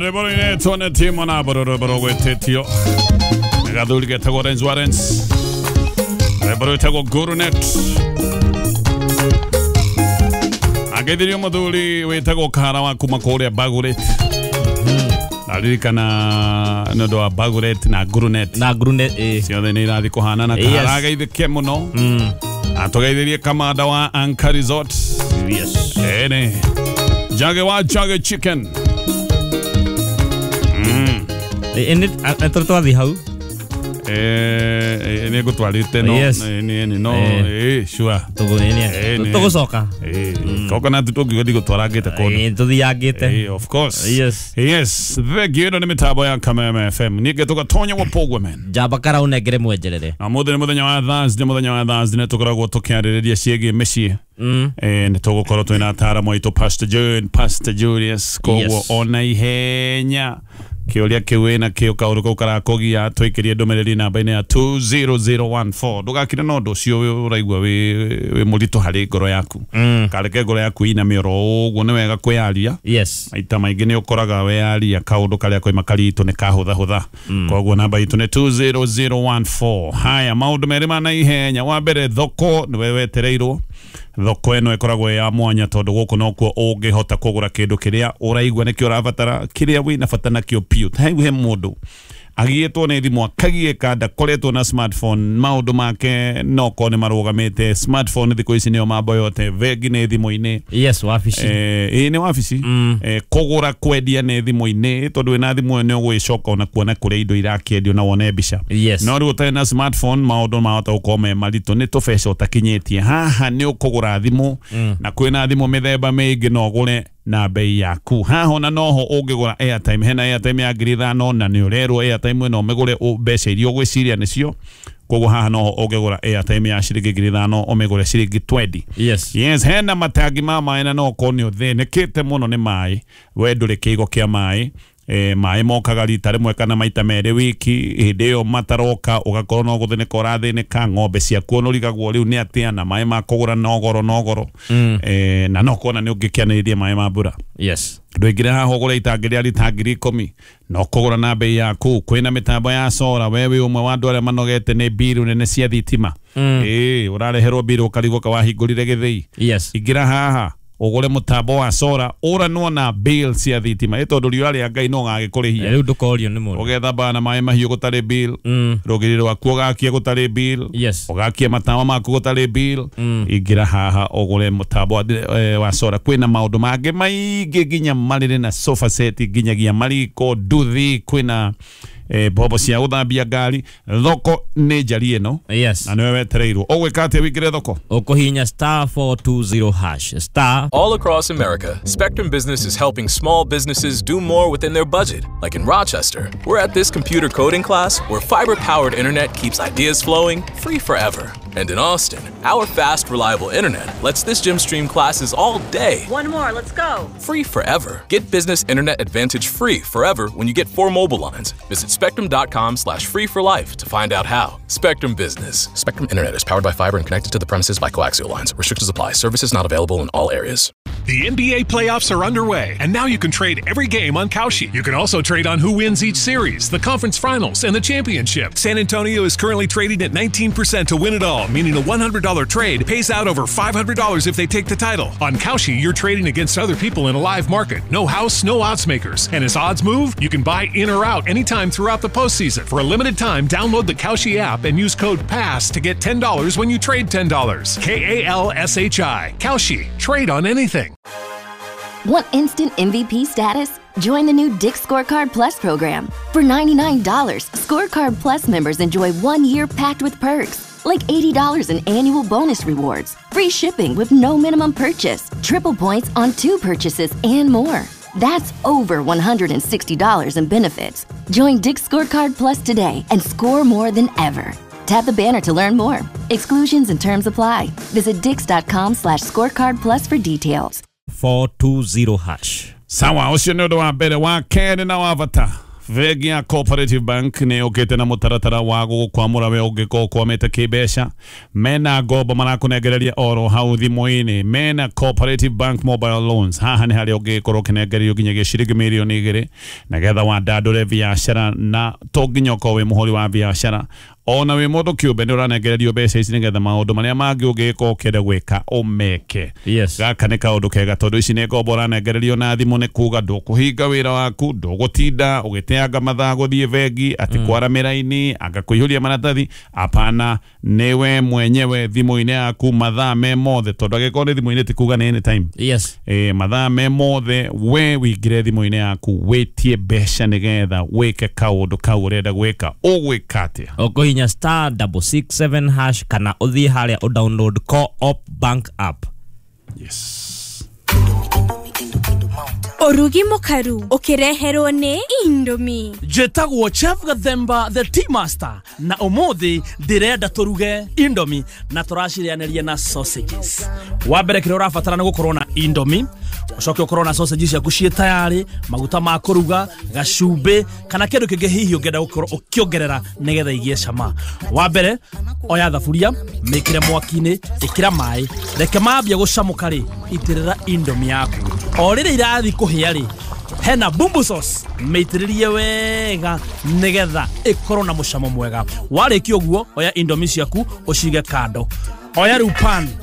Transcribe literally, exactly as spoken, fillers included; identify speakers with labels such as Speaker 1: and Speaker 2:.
Speaker 1: Rwĩmbo rũinĩtwo nĩ Timo na Mbũrũ, rwĩmbo rũgwĩtĩtio nĩ gathuri getagwo Renz Warrens, rwĩmbo rwĩtagwo Gurunet. Angeithirio mũthuri wĩtagwo Kahara wa kuma kũrĩa Baguret. Naririkana nĩ ũndũ wa Baguret na Gurunet
Speaker 2: na Gurunet eh.
Speaker 1: Ciothe nĩ irathiĩ kũhanana.
Speaker 2: Yes.
Speaker 1: Kahara ageithĩke mũno.
Speaker 2: Mm.
Speaker 1: Atũgeithirie kamanda wa Anchor Resort.
Speaker 2: Yes.
Speaker 1: Ene Jage wa Jage Chicken.
Speaker 2: Ĩ nĩ twathiĩ hau.
Speaker 1: Eh, nĩ ngũtwarĩte no.
Speaker 2: Yes.
Speaker 1: Nĩ nĩ no.
Speaker 2: Eh.
Speaker 1: Eh, sure.
Speaker 2: Tũgũnĩnia.
Speaker 1: Eh, nĩ.
Speaker 2: Tũgũcoka.
Speaker 1: Eh, coconut tũngiuga ndigũtwarangĩte kũndũ.
Speaker 2: Ĩ tũthiangĩte.
Speaker 1: Eh, of course.
Speaker 2: Yes.
Speaker 1: Yes, thank you. Ĩno nĩ mĩtambo ya Kameme F M. Ningĩ tũgatonya gwa Pogwe man.
Speaker 2: Njamba kara ũnengere mwenjerere.
Speaker 1: Na mũthĩ nĩ mũthenya wa Thursday, mũthenya wa Thursday nĩ tũkoragwo tũkĩarĩrĩria ciĩgiĩ mĩciĩ.
Speaker 2: Mm.
Speaker 1: Eh, nĩ tũgũkorwo twĩna ataaramu aitũ Pastor Jane, Pastor Julius, koguo
Speaker 2: Yes.
Speaker 1: ona ihenya kĩũria kĩu wĩna kĩo kaũndũ kau karakũgia twĩkĩrie ndũmĩrĩri namba-inĩ ya two zero zero one four. Ndũgakire na ũndũ ũcio ũraigua wĩ wĩ mũritũ harĩ ngoro yaku.
Speaker 2: Mm.
Speaker 1: Kareke ngoro yaku ĩiname oro ũguo, nĩ wega kwĩyaria.
Speaker 2: Yes.
Speaker 1: Maita maingĩ nĩ ũkoraga weyaria kaũndũ karĩa koima karitũ nĩ kahũthahũtha. Koguo namba itũ nĩ two zero zero one four. Haya, maũndũ merĩ ma naihenya. Wa mbere, thoko nĩwe wetereirwo. Thoko ĩno ĩkoragwo ĩ ya mwanya tondũ gũkũ nokuo ũngĩhota kũgũra kĩndũ kĩrĩa ũraigua nĩkĩo ũrabatara, kĩrĩa wĩna bata nakĩo piũ. Hau he mũndũ agiĩtwo nĩ thimũ akagiĩka, ndakoretwo na smartphone, maũndũ make no korwo nĩ marũgamĩte. Smartphone thikũ ici nĩyo mambo yote, bengi nĩ thimũ-inĩ.
Speaker 2: Yes, wabici.
Speaker 1: Eh, ĩĩ nĩ wabici.
Speaker 2: Mm.
Speaker 1: Eh, kũgũra kwendia nĩ thimũ-inĩ tondũ wĩna thimũ ĩyo nĩ ũgwĩcoka ona kuona kũrĩa indo irakĩendio na wone mbica.
Speaker 2: Yes.
Speaker 1: No rĩu ũtarĩ na smartphone maũndũ mahota gũkorwo me maritũ, nĩ tũbeca ũtakinyĩtie. Haha nĩ ũkũgũra thimũ na kwĩna thimũ mĩthemba mĩingĩ no ũgũre na bei yaku. Haha ona noho ũngĩgũra airtime, hena airtime ya ngiri ithano na nĩ ũrerwo airtime ĩno ũmĩgũre ũ- mbeca iria ũgwĩciria nĩcio. Koguo haha noho ũngĩgũra airtime ya ciringi ngiri ithano ũmĩgũre ciringi twenty.
Speaker 2: Yes.
Speaker 1: Yes, hena matangi ma maĩ na no ũkorwo nĩ ũthĩnĩkĩte mũno nĩ maĩ, we ndũrĩ kĩigo kĩa maĩ. Eh, maĩ mokaga rita rĩmwe kana maita merĩ wiki, hĩndĩ ĩyo mataroka ũgakorwo no gũthĩnĩka ũrathĩnĩka, ng'ombe ciaku ũnũrigagwo rĩu nĩ atĩa, na maĩ ma kũgũra no goro no goro.
Speaker 2: Mm.
Speaker 1: Eh, na no kuona nĩ ũngĩkĩanĩrĩria maĩ ma mbura.
Speaker 2: Yes.
Speaker 1: Ndũingĩre haha ũgũre itangi rĩa rita ngiri ikũmi no kũgũra na bei yaku. Kwĩna mĩtambo ya sora, we wĩ ũmwe wa andũ arĩa manogete nĩ mbiru nene cia thitima.
Speaker 2: Mm.
Speaker 1: Ĩĩ, ũrareherwo mbiru ũkarigwo ka wahingũrire gĩthĩi.
Speaker 2: Yes.
Speaker 1: Ingĩra haha ũgũre mũtambo wa sora ũranwo na bill cia thitima, ĩ tondũ riũa rĩa Ngai no gagĩkũrĩhia.
Speaker 2: Rĩu ndũkorio nĩ mũndũ.
Speaker 1: Ũgethamba na maĩ mahiũ gũtarĩ bill,
Speaker 2: Mm.
Speaker 1: rũgiri rwaku ũgakia gũtarĩ bill,
Speaker 2: Yes.
Speaker 1: ũgakia matawa maku gũtarĩ bill.
Speaker 2: Mm.
Speaker 1: Ingĩra haha ũgũre mũtambo wa, eh, wa sora. Kwĩna maũndũ mangĩ maingĩ nginya marĩrĩ na sofa set, nginyagia mariko, nduthi, kwĩna eh, mbombo cia gũthambia ngari. Thoko nĩ njari ĩno
Speaker 2: Yes.
Speaker 1: na nĩwe wetereirwo. Ũgwĩka atĩa wĩingĩre thoko?
Speaker 2: Ũkũhihinya star four two zero hash star.
Speaker 3: All across America, Spectrum Business is helping small businesses do more within their budget. Like in Rochester, we're at this computer coding class where fiber-powered internet keeps ideas flowing free forever. And in Austin, our fast, reliable internet lets this gym stream classes all day.
Speaker 4: One more, let's go.
Speaker 3: Free forever. Get business internet advantage free forever when you get four mobile lines. Visit spectrum.com slash free for life to find out how. Spectrum Business. Spectrum Internet is powered by fiber and connected to the premises by coaxial lines. Restrictions apply. Services not available in all areas.
Speaker 5: The N B A playoffs are underway, and now you can trade every game on Kalshi. You can also trade on who wins each series, the conference finals, and the championship. San Antonio is currently trading at nineteen percent to win it all, meaning a one hundred dollar trade pays out over five hundred dollars if they take the title. On Kalshi, you're trading against other people in a live market. No house, no odds makers. And as odds move, you can buy in or out anytime throughout the postseason. For a limited time, download the Kalshi app and use code PASS to get ten dollars when you trade ten dollars. K A L S H I. Kalshi. Trade on anything.
Speaker 6: Want instant M V P status? Join the new Dick's Scorecard Plus program. For ninety-nine dollars, Scorecard Plus members enjoy one year packed with perks, like eighty dollars in annual bonus rewards, free shipping with no minimum purchase, triple points on two purchases, and more. That's over one hundred sixty dollars in benefits. Join Dick's Scorecard Plus today and score more than ever. Tap the banner to learn more. Exclusions and terms apply. Visit dicks.com slash scorecard plus for details.
Speaker 2: four two zero hash.
Speaker 1: Sawa, ũcio nĩ ũndũ wa mbere. Wa kerĩ na wa bata, Bengi ya Cooperative Bank nä yå kä te na må taratara wa gå kwamå we å ngä korwo kwamä te kä mbeca. Mena ngombo marakũnengereria oro hau thimũ-inĩ. Mena Cooperative Bank mobile loans. Haha nĩ harĩa ũngĩkorwo ũkĩnengererio nginyagia ciringi mirioni igĩrĩ nĩgetha wandandũre biacara, na to nginya ũkorwo wĩ mũhũri wa biacara, ona wĩ mũndũ kĩũmbe nĩ ũranengererio mbeca ici nĩgetha maũndũ marĩa mangĩ ũngĩkorwo ũkĩenda gwĩka ũmeke.
Speaker 2: Yes.
Speaker 1: Gaka nĩ kaũndũ kega tondũ ici nĩ ngombo ũranengererio na thimũ, nĩ kuga ndũkũhinga wĩra waku, ndũgũtinda ũgĩteanga mathaa gũthiĩ bengi atĩ kwara mĩraini anga kũihũria maratathi. Apana, nĩwe mwenyewe thimũ-inĩ yaku mathaa me mothe, tondũ angĩkorwo nĩ thimũ-inĩ ti kuga nĩ anytime.
Speaker 2: Yes.
Speaker 1: E, mathaa me mothe we wĩingĩre thimũ-inĩ yaku wĩtie mbeca nĩgetha wĩke kaũndũ kau ũrenda gwĩka. Ũgwĩka atĩa?
Speaker 2: Ũkũhinya star double six seven hash kana ũthiĩ harĩa ũ download Co-op Bank app.
Speaker 1: Yes.
Speaker 4: Ũrugi mũkaru ũkĩreherwo nĩ Indomie.
Speaker 7: Njĩtagwo Chef Gathemba the Tea Master, na ũmũthĩ ndĩrenda tũruge Indomie na tũracirĩanĩria na sausages. Wa mbere, kĩrĩa ũrabatara nĩ gũkorwo na Indomie, ũcoke ũkorwo na sausage ciaku ciĩ tayarĩ, maguta ma kũruga, gacumbĩ kana kĩndũ kĩngĩ hihi ũngĩenda gũkorwo ũkĩongerera nĩgetha igĩe cama. Wa mbere, oya thaburia, mĩkĩre mwaki-inĩ, ĩkĩra maĩ, reke mambia gũcamũka rĩ, itĩrĩra Indomie yaku. O rĩrĩa irathiĩ kũhĩa rĩ, hena bumbu sauce, mĩitĩrĩrie wega nĩgetha ĩkorwo na mũcamo mwega. Warĩkia ũguo, oya Indomie ciaku ũcige kando. Oya rĩu pan.